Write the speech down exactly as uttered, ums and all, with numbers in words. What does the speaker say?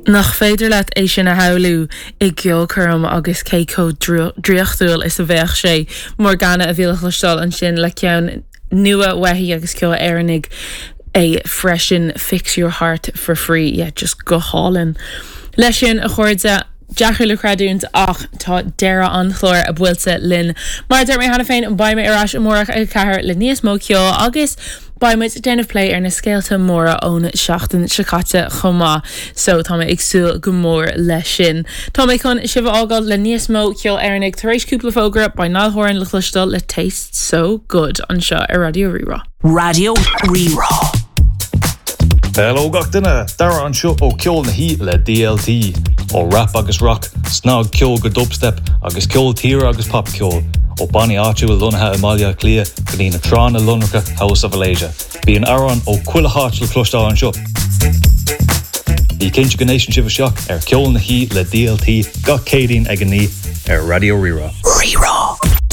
Nach féidir leat é sin a shamhlú i gceolchoirm agus cé chomh draíochtúil is a bheadh sé Morgana a bhí le cloisteáil ansin le ceann nua uaithi agus ceol Éireannach é freisin Fix Your Heart for Free yeah, just go hálainn. Leis sin a chairde deacair le creidiúint ach tá deireadh an chláir a buailte linn. Mar deir mé cheana féin beidh mé ar ais amárach ag ceathair le níos mó ceol agus Beidh muid déanamh plé ar na scéalta móra ón seachtain seo caite chomh maith, so tá mé ag súil go mór leis sin. Tá mé chun sibh a fhágáil le níos mó ceol Éireannach tar éis cúpla fógra beidh Niall Horan le cloisteáil le Taste So Good anseo ar Raidió Rí-Rá. Raidió Rí-Rá. Hello gach duine Dara anseo ó Ceol na hOíche le DLT ó rap agus rock, snagcheol go dubstep agus ceol tíre agus popcheol ó bannaí áitiúil lonnaithe i mBaile Átha Cliath go dtí na tránna lonracha House of Malaysia. Bíonn amhráin ó chuile áit le cloisteáil anseo. Bí cinnte go n-éisteann sibh isteach ar Ceol na hOíche le DLT gach Céadaoin ag a naoi ar Raidió Rí-Rá. Rí-Rá.